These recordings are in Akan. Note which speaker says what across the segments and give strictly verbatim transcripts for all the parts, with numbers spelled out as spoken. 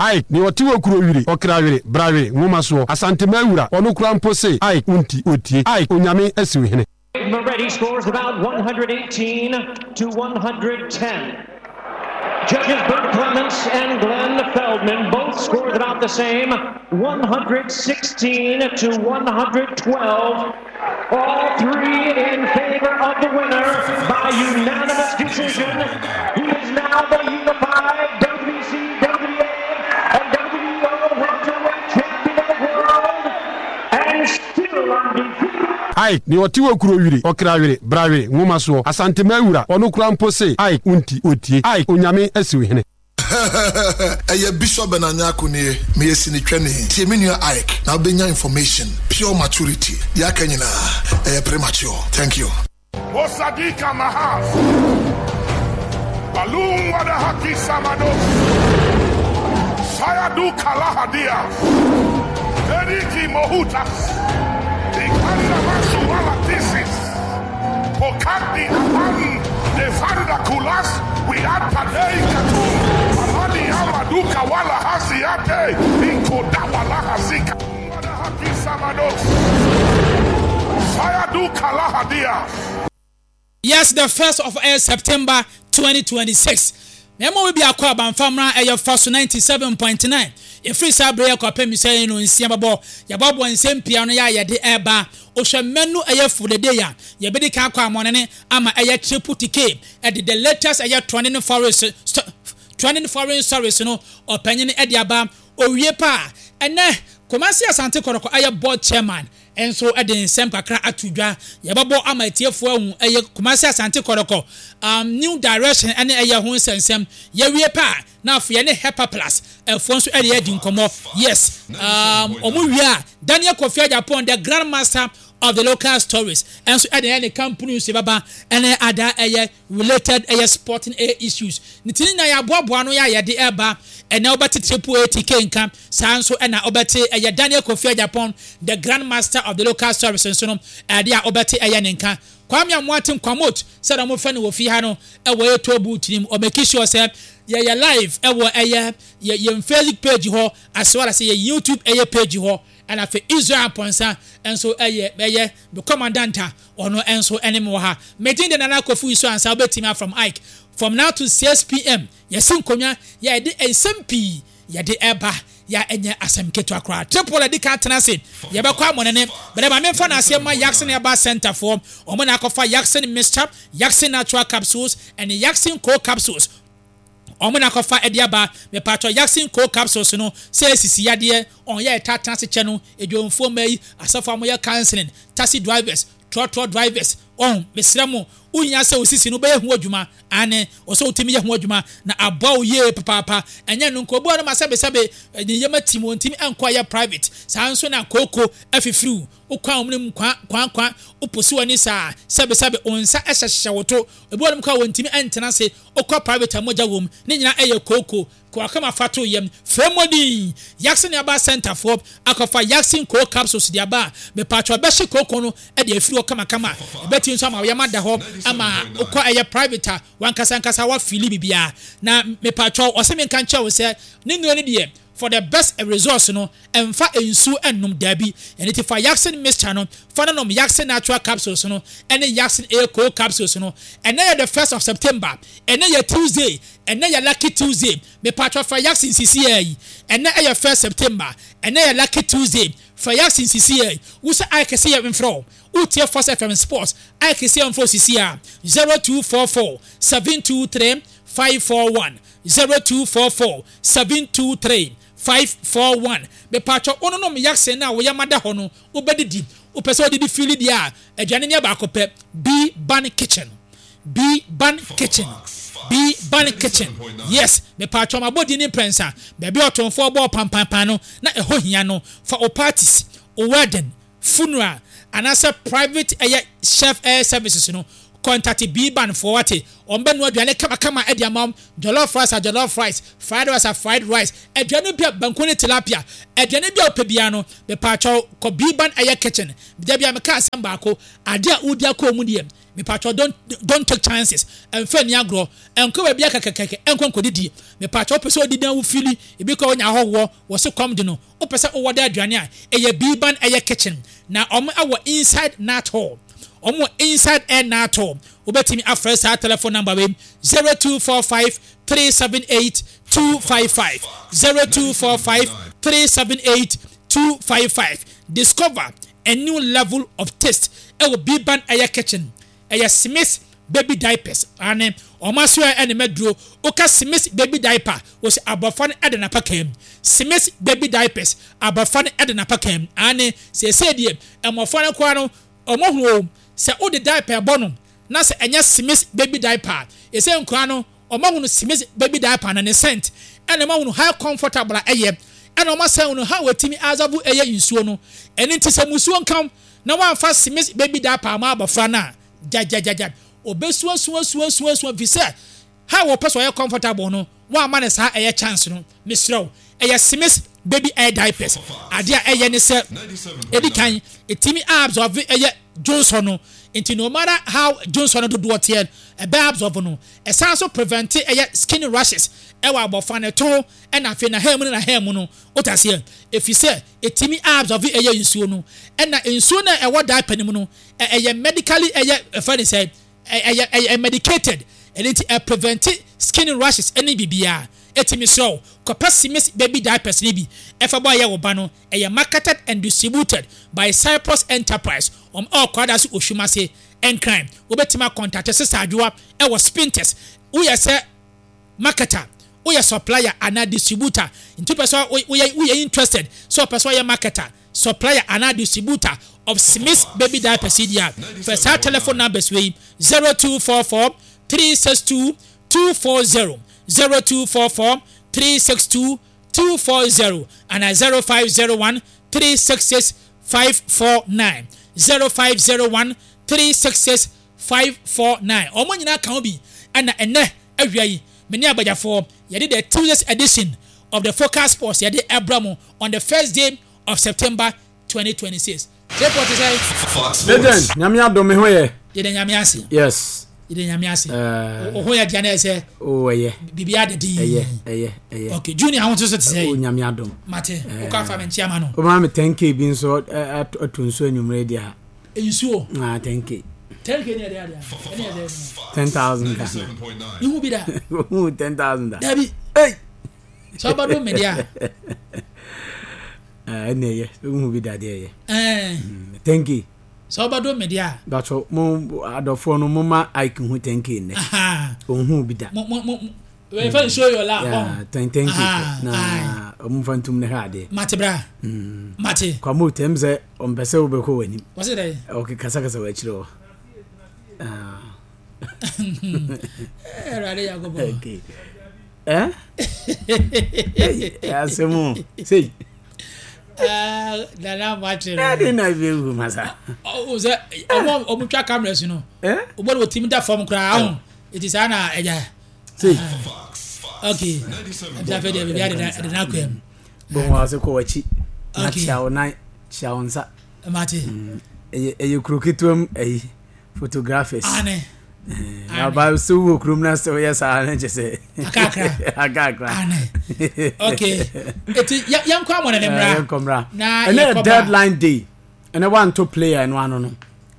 Speaker 1: Ike, nea ɔte wɔ kuro wiri, ɔkra were, bra were, nwoma soɔ, Asantema wura, ɔno kora mpo se, Ike, wo nti, ɔtie. Ike, Onyame asi wo hene.
Speaker 2: Moretti scores about one hundred eighteen to one hundred ten. Judges Bert Clements and Glenn Feldman both scored about the same, one hundred sixteen to one hundred twelve. All three in favor of the winner by unanimous decision. He is now the unified W B C, W B A, and W B O welterweight champion of the world and still undefeated.
Speaker 1: Ike, nea ɔte wɔ kuro wiri, ɔkra were, bra were, nwoma soɔ, Asantema wura, ɔno kora mpo se, Ike, wo nti, ɔtie. Ike, Onyame asi wo hene.
Speaker 3: Ɛyɛ Bishop Benanyako nie. Meyɛ sinitwani. Tie me nua Ike na wobɛnya information, pure maturity. Deɛ aka nyinaa ɛyɛ premature. Thank you.
Speaker 4: Osadika Mahas. Balloon Wadahaki Samados. Sayadu Kalahadias. Eriki Mohutas. Ikanda Masuala Tisis. Pokandi Apan. Devanda Kulas. Wiatadei Katum. Alani Amaduka Wala Hasiate. Ikodawala Hasika. Wadahaki Samados. Sayadu Kalahadias.
Speaker 5: Yes, the first of uh, September twenty twenty-six. Na ɛma obi akɔ abanfamra ɛyɛ fa so ninety-seven point nine. Ɛfiri saa berɛ yɛ kɔpɛ mi sɛ no nsia bɛbɔ, yɛbɔbɔ nsɛm pia no yɛ a yɛde ɛba wohwɛ mɛnu ɛyɛ fodede a yɛbɛdi kan akɔ amɔnene ama ɛyɛ Triple T K ɛde the latest ɛyɛ trending foreign trending foreign stories no ɔpanyin ɛde aba owie pa. Ɛnɛ Kumasi Asante Kɔtɔkɔ ɛyɛ board chairman nso ɛde nsɛm kakra ato dwa. Yɛbɛbɔ ama atiefoɔ ahu ɛyɛ Kumasi Asante Kɔtɔkɔ um, new direction ɛne ɛyɛ ho nsɛnsɛm. Yɛwie pa na afei yɛne Hepa Plus ɛfoɔ nso ɛde adi nkɔmɔ. Yes, um, ɔmo wie a, Daniel Kofi Agyapong, the grand master of the local stories, ɛnso ɛde ɛyɛ ne company nso bɛba ɛne ada ɛyɛ related ɛyɛ sporting ɛyɛ issues ne ti nyinaa yɛaboaboa no yɛ a yɛde ɛba. Ɛnɛ wobɛte Triple A T K nka saa nso, ɛna wobɛte ɛyɛ Daniel Kofi Agyapong, the grand master of the local stories nso no, ɛde a wobɛte ɛyɛ ne nka. Kwame Amoate Nkwamot, sɛdeɛ wɔfrɛ no wɔ fie ha no, ɛwɔ ɛyɛ toll booth nim. Ɔmake sure sɛ yɛyɛ live ɛwɔ ɛyɛ yɛ yɛn Facebook page hɔ as well as yɛ YouTube ɛyɛ page hɔ. Ɛna afei Israel Pɔnsa nso ɛyɛ ɛyɛ the commandant a ɔno nso ɛne mu wɔ ha. Medin de Nana Kofi so ansa wobɛtumi from Ike from now to six p m. Yɛsi nkonnwa, yɛde nsɛm pii yɛde ɛba yɛ ɛnyɛ asɛm ketewa koraa. Triple ɛdi ka tena ase, yɛbɛkɔ amɔnene bɛrɛ maame nfa n'aseɛ ma Yakson Herbal Center foɔ. Wɔn na akɔfa Yakson mixture, Yakson natural capsules ɛne Yakson co capsules. Wɔn na akɔfa ɛde aba. Mepatɔ Yakson co capsules no sɛ esisi yadeɛ ɔn yɛ ɛta tena ase kyɛ no edwomfoɔ mma yi, asafo a wɔyɛ counseling, taxi drivers, trɔtrɔ drivers ɔn mesrɛ mo, wonya sɛ osisi no bɛyɛ ho adwuma ane ɔsɛ wotumi yɛ ho adwuma na aboa wo yie papaapa. Ɛnyɛ no nka obi no ma sɛbesɛbe ne yɛma tim wɔn ntumi nkɔ yɛ private. Saa nso na kooko afifiriw wokwan wɔn mu kwan kwan kwan woposi wɔn ani saa, sɛbesɛbe wɔn nsa ɛhyehyɛ wo to. Ebi wɔn kɔ a wɔn ntumi ntena ase, wokɔ private a mogya wɔm ne nyinaa ɛyɛ kooko kɔkama fa to yam fɛmɔdin. Yakson Herbal Center foɔ akɔfa Yakson co capsules de aba a mepatwa bɛhyɛ kooko no ɛde afiri hɔ kamakama. Ɛbɛti nso ama yɛma da hɔ ama wokɔ ɛyɛ private a wankasa nkasa wafili biribiara. Na mepatwa ɔsɛ mi nka nkyɛn wo sɛ ne nnuro no deɛ, for the best results no, ɛnfa nsuo ɛnnom daabi. Ɛne ti fa Yakson mixture no, fa no nom Yakson natural capsules no ɛne Yakson A co capsules no. Ɛnɛ yɛ the first of September, ɛnɛ yɛ Tuesday, ɛnɛ yɛ lucky Tuesday. Mepatwa fa Yakson sisi yɛ yi. Ɛnɛ ɛyɛ first September, ɛnɛ yɛ lucky Tuesday. Fa Yakson sisi yɛ yi. Wusa ayɛ kɛse yɛ mfrɛ o, wotie Force F M Sports ayɛ kɛse yɛ mfrɛ sisi a zero two four four seven two three five four one, zero two four four seven two three five four one. Mepatwa ononom Yakson na woyɛ mada hɔ no, wobɛdidi wopɛ sɛ wodidi fili deɛ a aduane ne baako pɛ, B Ban Kitchen, B Ban Kitchen, B Ban Kitchen. Yes, mepatwa ma abɔdi ne mprɛnsa baabi a ɔtɔnfoɔ bɔɔ pampampan no na ɛhɔ hia no. Fa o parties, o wedding, funeral anaasɛ private ɛyɛ chef air services no, Contact B-Ban foɔ wate. Wɔn bɛnoa aduane kamakama de ama wo. Jollof rice a jollof rice, fried rice a fried rice, aduane bi a banku ne tilapia, aduane bi a wopɛ biara no, mepaakyɛw kɔ B-Ban ɛyɛ kitchen. Da biara meka asɛm baako, adeɛ a wodi akɔ mu deɛ, mepaakyɛw don't don't take chances, ɛmfa nni agorɔ, ɛnkɔ baabi a kɛkɛkɛkɛ ɛnkɔ nkɔdidi. Mepaakyɛw wopɛ sɛ wodidi na wo feeli, ebi koraa wonya ahɔhoɔ, wɔse kɔm de no, wopɛ sɛ wowɔ dɛ aduane a, ɛyɛ B-Ban ɛyɛ kitchen. Na wɔn ɛwɔ inside Nat Hall. Wɔn wɔ inside air nato. Wobɛtumi afrɛ saa telephone number wei zero two four five three seven eight two five five zero two four five three seven eight two five five. Discover a new level of taste ɛwɔ Biban Ɛyɛ Kitchen. Ɛyɛ Smith baby diapers ane wɔn asoɛ ɛne mɛduro. Woka Smith baby diaper wɔsi abɔfra no ɛde n'apakaa mu. Smith baby diapers abɔfra no ɛde n'apakaa mu ane seesei deɛ mmɔfra no koraa no wɔn ahunu o sɛ wode diaper bɔ no na sɛ ɛnyɛ Smith baby diaper a ɛsɛ nkwadaa no wɔn ahunu Smith baby diaper no ne scent ɛna wɔn ahunu how comfortable a ɛyɛ ɛna wɔn asan ahunu how wɔtumi absorb ɛyɛ nsuo no. Ɛno nti sɛ musuo nka na wɔamfa Smith baby diaper ama abɔfra no a gyagyagyaga obesuasuasuasuasua fi sɛ how wɔpɛ sɛ ɔyɛ comfortable no wɔama no saa ɛyɛ chance no. Mesrɛ wo, ɛyɛ Smith baby air diapers. Adeɛ a ɛyɛ ne sɛ ɛdi kan ɛtumi absorb ɛyɛ dwonsɔ no, nti no matter how dwonsɔ no dodoɔ teɛ ɛbɛ absorb no. Ɛsan so prevent ɛyɛ skin rashes ɛwɔ abɔfra no to ɛna afei na hair mu ne na hair mu no wotaseɛ, ɛfiri sɛ ɛtumi absorb ɛyɛ nsuo no, ɛna nsuo no a ɛwɔ diaper no mu no ɛyɛ medically ɛyɛ ɛfɛ ne sɛ ɛyɛ ɛyɛ medicated, ɛno nti ɛprevent skin rashes ɛne biribiara. Ɛtumi srɛ wo, kɔpɛ Smith baby diapers no bi ɛfa bɔ ɛyɛ wo ba no. Ɛyɛ marketed and distributed by Cyprus Enterprise. Wɔn ɛwɔ Kwadaso Oshumase Nkran. Wobɛtumi acontact Sister Adwoa ɛwɔ Spintex. Woyɛ sɛ marketer, woyɛ supplier anaa distributor, nti wopɛ sɛ woyɛ woyɛ interested sɛ wopɛ sɛ ɔyɛ marketer, supplier anaa distributor of Smith baby diapers yi deɛ a, fɛ saa telephone numbers wei zero two four four three six two two four zero zero two four four three six two two four zero anaa zero five zero one three six six five four nine zero five zero one three six six five four nine. Wɔn nyinaa ka ho bi ɛna ɛnɛ awia yi me ne abagyafoɔ yɛde the Tuesday's edition of the Focus Sports yɛde ɛbra mu on the first day of September twenty twenty six. Tripod te sɛ.
Speaker 1: Legend, Nyame adom me ho yɛ.
Speaker 5: Yɛde Nyame ase.
Speaker 1: Yes.
Speaker 5: Yɛde Nyame ase. O ho yɛ deɛ na ɛsɛ.
Speaker 1: O ɛyɛ.
Speaker 5: Biribi ada din.
Speaker 1: Ɛyɛ ɛyɛ ɛyɛ.
Speaker 5: Okay, Junior ho nso so te sɛ.
Speaker 1: O Nyame adom.
Speaker 5: Mate, wokɔ afa me nkyia ma no.
Speaker 1: O ma me ten k bi nso ato nsuo anwummerɛ di ha.
Speaker 5: Nsuo.
Speaker 1: Ah, ten k.
Speaker 5: ten k ni ɛde adeɛ. Ɛne ɛsɛ.
Speaker 1: ten thousand Ghana.
Speaker 5: Ihu bi da.
Speaker 1: Ihu ten thousand da.
Speaker 5: Dabi.
Speaker 1: Hey.
Speaker 5: Sɛ ɔba do me deɛ.
Speaker 1: Ɛne ɛyɛ, ihu bi da deɛ ɛyɛ. Ten k.
Speaker 5: Sɛ ɔba do me deɛ a.
Speaker 1: Batɔ mo adɔfoɔ no mo ma Ike hu ten k nnɛ. Ohun bi da.
Speaker 5: Mo mo mo wei fɛ show your love.
Speaker 1: Yeah, ten ten k na ɔmo nfa ntum ne hwɛ adeɛ.
Speaker 5: Mate bra. Mate.
Speaker 1: Kwamo tɛm sɛ ɔmpɛ sɛ wobɛkɔ w'anim.
Speaker 5: Wɔsi dɛ.
Speaker 1: Ɔke kasakasa wɔ akyire hɔ.
Speaker 5: Ɛwurade Yakobo.
Speaker 1: Okay. Eh? Hey, asɛm o. Sei.
Speaker 5: Nana Mate no.
Speaker 1: Ɛde na ebi ewu masa.
Speaker 5: Ɔ sɛ ɔmo ɔmo twa cameras no. Ɔmo de wɔtumi da fam koraa ahun. Eti saa na ɛgya.
Speaker 1: Sei.
Speaker 5: Okay. Ɛbi afɛ deɛ bibi adeda ɛde na akɔ mu.
Speaker 1: Bɔn wɔn ase kɔ w'akyi. Na kyia wo nan, kyia wo nsa.
Speaker 5: Mate.
Speaker 1: Ɛyɛ ɛyɛ kuro ketewa mu ɛyi photographers.
Speaker 5: Ane.
Speaker 1: Aba so wɔ kurom na sɛ woyɛ saa no kyɛ sɛ
Speaker 5: akakra
Speaker 1: akakra.
Speaker 5: Ane. Okay. Eti yɛnkɔ amɔ ne mmra.
Speaker 1: Yɛnkɔ mmra.
Speaker 5: Na
Speaker 1: ɛnɛ yɛ deadline day. Ɛnɛ wanto player ɛno ano no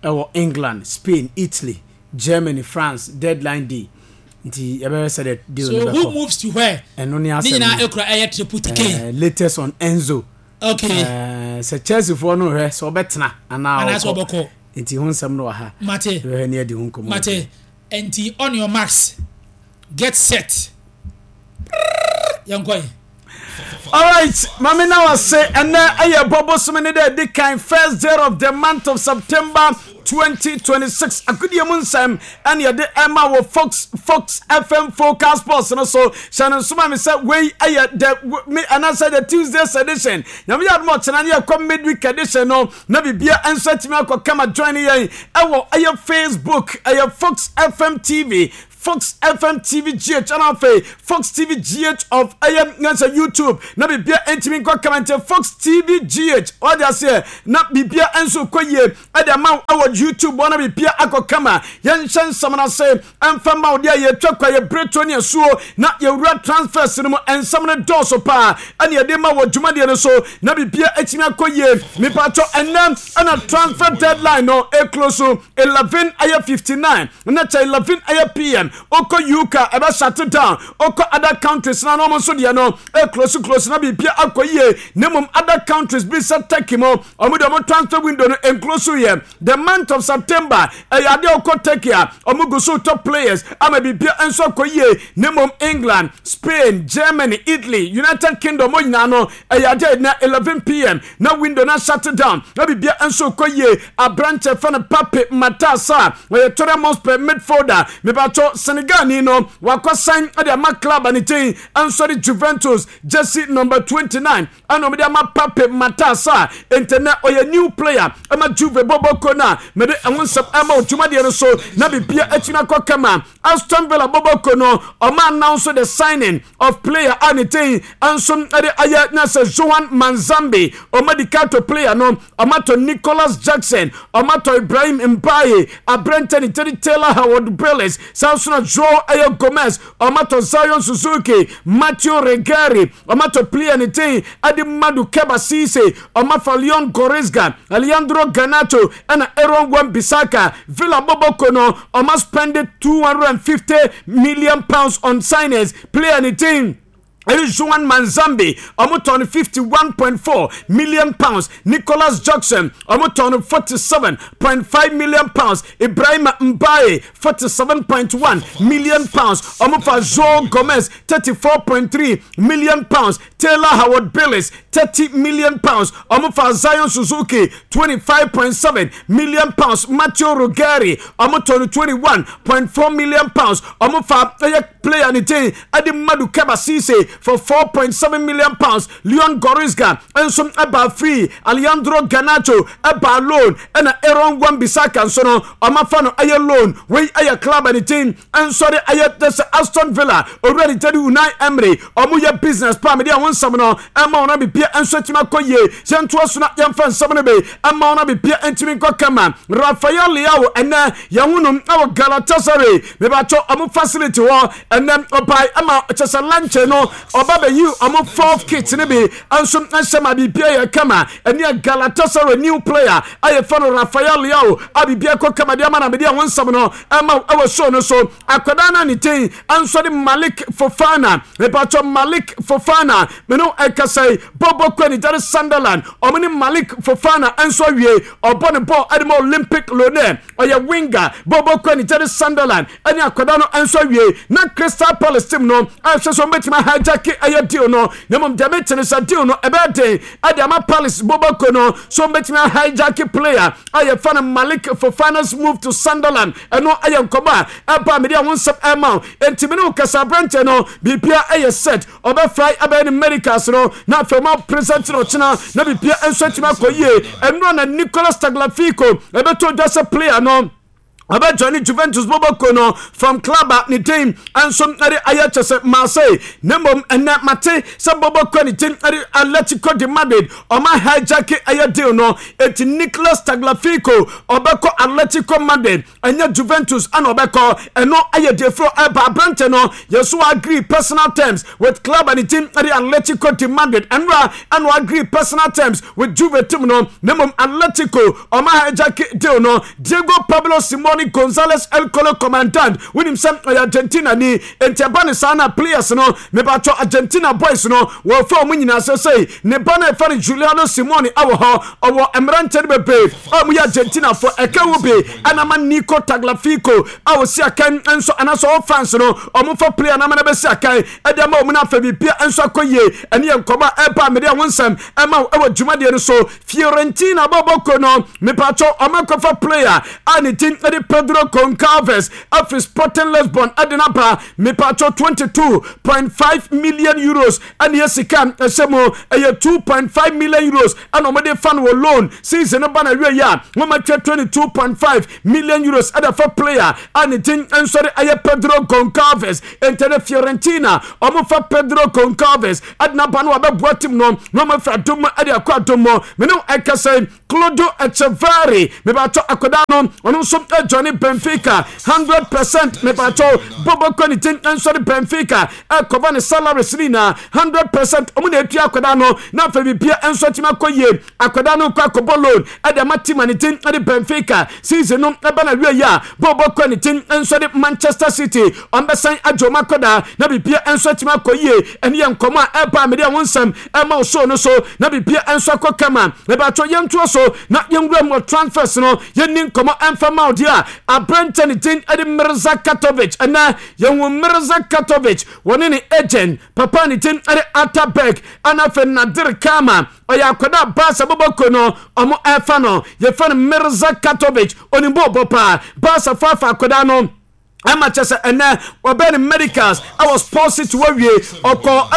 Speaker 1: ɛwɔ England, Spain, Italy, Germany, France deadline day. Nti yɛbɛhwɛ sɛ de deal
Speaker 5: so
Speaker 1: no bɛkɔ.
Speaker 5: So who moves to where?
Speaker 1: Ɛno ne asɛm.
Speaker 5: Ne nyinaa ekura ɛyɛ triple T K.
Speaker 1: Latest on Enzo.
Speaker 5: Okay.
Speaker 1: Sɛ Chelsea foɔ no hwɛ sɛ ɔbɛtena anaa
Speaker 5: ɔkɔ. Ɔbɛkɔ.
Speaker 1: Nti ho nsɛm no wɔ ha.
Speaker 5: Mate.
Speaker 1: Yɛbɛhwɛ ne adi ho nkɔmmɔ.
Speaker 5: Mate. Nti on your marks, get set. Yɛnkɔ yi.
Speaker 1: Alright, mame na wase ɛnɛ ɛyɛ bɔbɔ sumi ne dɛ di kan first day of the month of September twenty twenty-six agodie mu nsɛm ɛne yɛde ɛma wɔ Fox Fox F M Focus Sports no so. Hyɛ no nsoma me sɛ wei ɛyɛ the me anaasɛ the Tuesdays edition. Nyame yɛ adom, ɔkyena ne yɛkɔ midweek edition no na biribia nso atumi akɔ kama. Join yɛn ɛwɔ ɛyɛ Facebook, ɛyɛ Fox F M T V, Fox F M T V G H, ɛna afei Fox T V G H of ɛyɛ nyansa YouTube na biribia ntumi nkɔ kama. Nti Fox T V G H ɔde aseɛ na biribia nso kɔ yie ɛde ama ɛwɔ YouTube hɔ na biribia akɔ kama. Yɛnhyɛ nsɛm no ase ɛmfa ma wo deɛ yɛtwa kwa yɛ bereto ne asuo na yɛwura transfers no mu. Nsɛm no dɔɔso paa ɛne yɛde ma wɔ dwumadeɛ no so na biribia atumi akɔ yie. Mipatɔ ɛnɛ ɛna transfer deadline no eclose so eleven ɛyɛ fifty-nine na kyɛ eleven ɛyɛ P M. Okɔ U K ɛbɛ shut down, okɔ other countries na ɔmo nso deɛ no eclose close na biribia akɔ yie. Na mmom other countries bi sɛ Turkey mo, ɔmo deɛ ɔmo transfer window no enclose yɛ the month of September. Ɛyɛ adeɛ ɔkɔ Turkey a ɔmo gu so top players ama biribia nso akɔ yie. Na mmom England, Spain, Germany, Italy, United Kingdom mo nyinaa no, ɛyɛ adeɛ na eleven P M na window na shut down na biribia nso kɔ yie. Aberanteɛ fɛ no Pape Matar Sarr, ɔyɛ Tottenham Hotspur midfielder. Mebatɔ Senegal ni no wakɔ sign ɛde ama club a ne tin nso de Juventus, jersey number twenty-nine ɛna ɔmo de ama Pape Matar Sarr. Ntɛnɛ ɔyɛ new player ɛma Juve bɔbɔ ko no a mede ɛho nsɛm ɛma odwumadeɛ no so na biribia atumi akɔ kama. Aston Villa bɔbɔ ko no, ɔmo announce the signing of player a ne tin nso ɛde ayɛ na sɛ Joan Manzambi. Ɔmo di kato player no, ɔmo atɔ Nicholas Jackson, ɔmo atɔ Ibrahim Mbaye, aberante ne tɛri Taylor Howard Bayliss, saa nso na Joe ɛyɛ Gomez. Ɔmo atɔ Zion Suzuki, Matthew Regari. Ɔmo atɔ player ne tin ɛde Madu Keba Cisse. Ɔmo afa Leon Goretzka, Alejandro Garnacho ɛna Aaron Wan Bissaka. Villa bɔbɔ no, ɔmo spend two hundred and fifty million pounds on signings. Player ne tin ɛne Joan Manzambi, ɔmo tɔn fifty-one point four million pounds. Nicholas Jackson, ɔmo tɔn forty-seven point five million pounds. Ibrahim Mbaye, forty-seven point one million pounds. Ɔmo fa Joe Gomez, thirty-four point three million pounds. Taylor Howard Bayliss, thirty million pounds. Ɔmo fa Zion Suzuki, twenty-five point seven million pounds. Matthew Ruggieri, ɔmo tɔn twenty-one point four million pounds. Ɔmo fa ɛyɛ player ne tin ɛde Madu Keba Cisse for four point seven million pounds. Leon Goretzka nso ɛba free, Alejandro Garnacho ɛba loan, ɛna Aaron Wan Bissaka nso no ɔmafa no ɛyɛ loan. Wei ɛyɛ club ne team nso de ɛyɛ sɛ Aston Villa owura ne tɛdi Unai Emery. Ɔmo yɛ business pa mede ɛho nsɛm no ɛma wɔn abipia nso atumi akɔ yie. Yɛntoa so na yɛmfa nsɛm no bi ɛma wɔn abipia ntumi nkɔ kama. Rafael Leao, ɛnɛ yɛn ho nom ɛwɔ Galatasaray mebatɔ ɔmo facility hɔ. Ɛnɛ ɔbae ɛma kyɛ sɛ lunch no ɔba bɛyi ɔmo fourth kit ne bi nso nhyɛ ma bibia yɛ kama. Ɛne yɛ Galatasaray new player ayɛ fɛ no Rafael Leao a bibia kɔ kama deɛ ama na mede ɛho nsɛm no ɛma ɛwɔ show no so. Akwadaa no a ne tin nso de Malik Fofana, mepatɔ Malik Fofana mene ɛkasa yi bɔbɔ kɔ ne gyare Sunderland. Ɔmo ne Malik Fofana nso awie. Ɔbɔ ne bɔɔl ɛde ma Olympic Lyonnais, ɔyɛ winger. Bɔbɔ kɔ ne gyare Sunderland ɛne akwadaa no nso awie. Na Crystal Palace team no ɛhwɛ sɛ ɔmbɛtumi hijack ɛyɛ deal no, na mmom deɛ mete no sɛ deal no ɛbɛyɛ den ɛde ama Palace bɔbɔ kɔ no so ɔmbɛtumi hijack player a yɛfa no Malik Fofana's move to Sunderland. Ɛno ɛyɛ nkɔmɔ a ɛba mede ɛho nsɛm ɛma wo. Enti mene wo kasa, aberɛnkyɛ no biribia ɛyɛ set, ɔbɛfly abɛyɛ ne medicals no na afei ma present no ɔkyena na biribia nso atumi akɔ yie. Ɛno na Nicolas Tagliafico ɛbɛtɔ dwa sɛ player no ɔbɛjoin Juventus bɔbɔko no from club a ne din nso ɛde ayɛ kyɛ sɛ Marseille. Na mmom ɛnɛ mate sɛ bɔbɔko ne din ɛde Atletico de Madrid, ɔma hijack ɛyɛ deal no. Eti Nicolas Tagliafico ɔbɛkɔ Atletico Madrid, ɛnyɛ Juventus ɛna ɔbɛkɔ. Ɛno ɛyɛ defro ɛba aberante no yɛso agree personal terms with club a ne team ɛde Atletico de Madrid. Ɛnora ɛna agree personal terms with Juve team no, na mmom Atletico ɔma hijack deal no. Diego Pablo Simone Simeone Gonzales El Colo Commandant. Wonim sɛ ɔyɛ Argentina ni, enti ɛba ne saa na players no, mebatɔ Argentina boys no, wɔfa ɔmo nyinaa sɛ sɛi ne ba no ɛfa no Giuliano Simeone awɔ hɔ. Ɔwɔ mmeranteɛ no bebree a ɔmo yɛ Argentinafoɔ ɛka wo bi ɛna ma Nico Tagliafico a ɔsi akan nso anaasɛ ɔwɔ France no, ɔmo fa player na ama no bɛsi akan ɛde ama ɔmo no afɛ biribia nso akɔ yie. Ɛne yɛ nkɔmɔ a ɛba a mede ɛho nsɛm ɛma wo ɛwɔ dwumadeɛ no so. Fiorentina bɔbɔko no, mepatwɔ, ɔmo akɔfa player a ne din ɛde Pedro Goncalves afiri Sporting Lisbon ɛde naba. Mepatwɔ, twenty-two point five million euros ɛne yɛ sika ɛhyɛ mu. Ɛyɛ two point five million euros ɛna ɔmo fa no wɔ loan. Season no ba na wie yi a, wɔn atwa twenty-two point five million euros ɛde fa player a ne din nso de ɛyɛ Pedro Goncalves. Ntɛnɛ Fiorentina ɔmo fa Pedro Goncalves ɛde naba no, wabɛboa team no na ɔmo afiri adom mu ɛde akɔ adom mu. Mene ɛkasa, Claudio Echeverri, mebatɔ, akwadaa no, ɔno nso ɛjoin Benfica hundred percent. Mebatɔ, bɔbɔ ne din nso de Benfica ɛkɔba ne salaries ne nyinaa hundred percent. Ɔmo na etua akwadaa no na afei bibia nso atumi akɔ yie. Akwadaa no kɔ akɔbɔ loan ɛde ama team a ne din ɛde Benfica. Season no ɛba na wie yi a, bɔbɔ kɔ ne din nso de Manchester City, ɔmbɛsan agye ɔmo akwadaa na bibia nso atumi akɔ yie. Ɛne yɛ nkɔmɔ a ɛba a mede ɛho nsɛm ɛma wo show no so na bibia nso akɔ kama. Ɛbɛatɔ yɛntoɔ so na yɛnwura mu wɔ transfers no, yɛnni nkɔmɔ ɛmfa ma wo deɛ a aberɛnkyɛ ne din ɛde Mirza Katovic. Ɛnɛ yɛhu Mirza Katovic, wɔne ne agent papa ne din ɛde Atabek, ɛna afei Nadir Kama. Ɔyɛ akwadaa Barca bɔbɔko no, ɔmo ɛfa no, yɛfɛ no Mirza Katovic. Onim bɔɔbɔ paa. Barca fa afa akwadaa no ɛma kyɛ sɛ ɛnɛ wɔbɛn ne medicals ɛwɔ Sports City. Wɔwie ɔkɔ